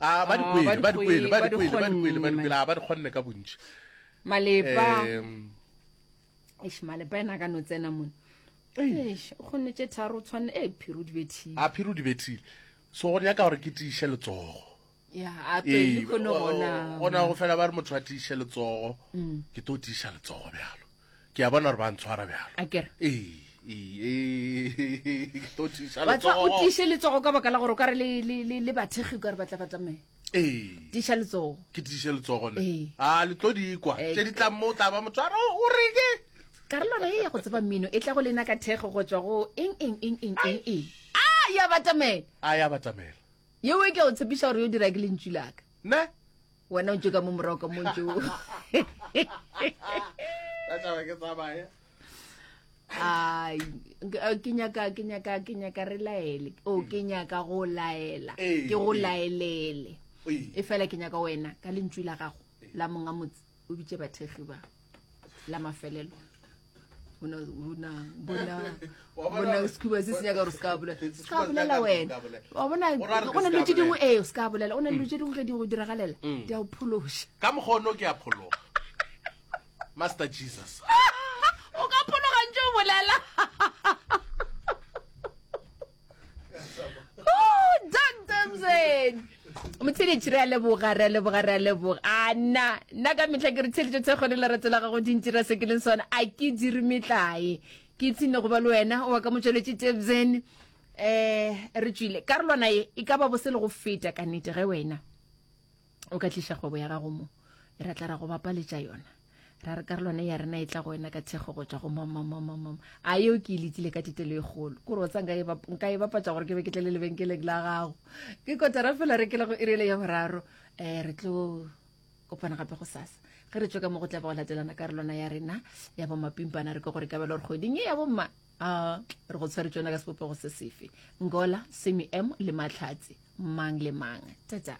A ba di Oh, kwele, ba di kwele, ba di ba di kwele, ba di kwele, ba di kgonne, kwele, a ba di kgonne ka bontši. Malepa. Em, Eish, malepa ena a ka no tsena mone. Eish, o kgonne tše tharo o tshwanne e phiri o di bethile. A phiri o di bethile. So go nyaka gore ke tiiše letsogo. Ya, a pele kgone gona. Gona go fela ba re motho a tiiše letsogo. Mm. Ke tlo tiiša letsogo bjalo. Ke a bona gore ba ntshwara bjalo. A kere. Ee, ee, ee, ke tlo tiiša Wa tseba, o letsogo. tiiše letsogo ka baka la gore o ka re le, le, le, le bathekgi o ka re ba tla ba tsamaye. Ee. Tiiša letsogo. Ke tiiše letsogo ne. Ee. A le tlo di kwa. Ee. Tše di tlang mo o tla ba motho a re o reke. Karolwana ye ya go tseba mmino e tla go lena ka thekgo go tšwa go eng eng eng eng eng eng. A ya batamela. A ya batamela. Yeo e ke a o tshepiša gore yo dira ke lentšu la ka. Ne? Wena o ntše ka mo morago ka mo ntše o. Ka tšhaba ke tsamaye. Ai, ke nyaka ke nyaka ke nyaka re laele. O ke nyaka go laela. Ee, Ke go ee. laelele. Ee. E fela ke nyaka wena ka lentšu la gago la monga motse o bitše bathekgi ba la mafelelo. Bona bona bona bona sekhuba se se nyaka gore se ka bolela. Se ka bolela wena. Wa bona go na le tše dingwe ee se ka bolela. Go na le tše dingwe ge di go diragalela di a o phološa. Ka mokgono ke a phologa. Master Jesus. O ka phologa ntše o bolela. Oh, Dr. Mzeni. Motheletši re a leboga re a leboga re a leboga a nna nna ka mehla ke re theletšo thekgo le lerato la gago di ntira se ke leng sona a ke dire metlae ke ipshine go ba le wena wa ka motšweletši tebzen um re tšwile karolwana ye e ka ba bose le go feta ka nnete ge wena o ka tliša kgwebo ya gago mo ra tla ra go bapaletša yona ra re karolwana ya rena e tla go wena ka thekgo go tšwa go mamamamamam a yeo ke e letile ka tetelo e kgolo kore wa tsa nka e nka e bapatša gore ke be ke tle le lebenkeleng la gago ke kotara fela re kele go irele ya boraro um re tlo kopana gape go sasa ge re tswe ka mo go tla ba go latelana karolwana ya rena ya bomapimpana re ke gore ka bela gore kgweding e ya bomma a re go tshwere tsona ka sebopego se sefe ngola semi m le matlhatse mang le mang tata.